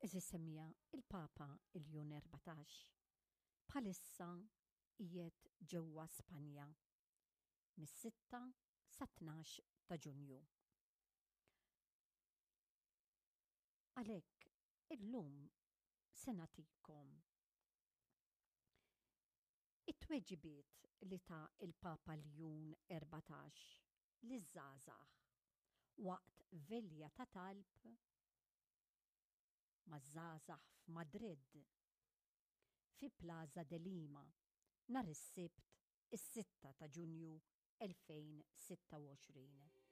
Għeżież semmiegħa, il-Papa Iljun 14 bħalissa qiegħed ġewwa Spanja mis-sitta sat-tnax ta' Ġunju. Għalhekk illum se nagħtikom it-tweġibiet li ta l-Papa Ljun 14 liż-żgħażagħ waqt velja ta' talb maż-żgħażagħ f'Madrid, fi Plaza de Lima, nhar is-Sibt is-sitta ta' Ġunju 2026.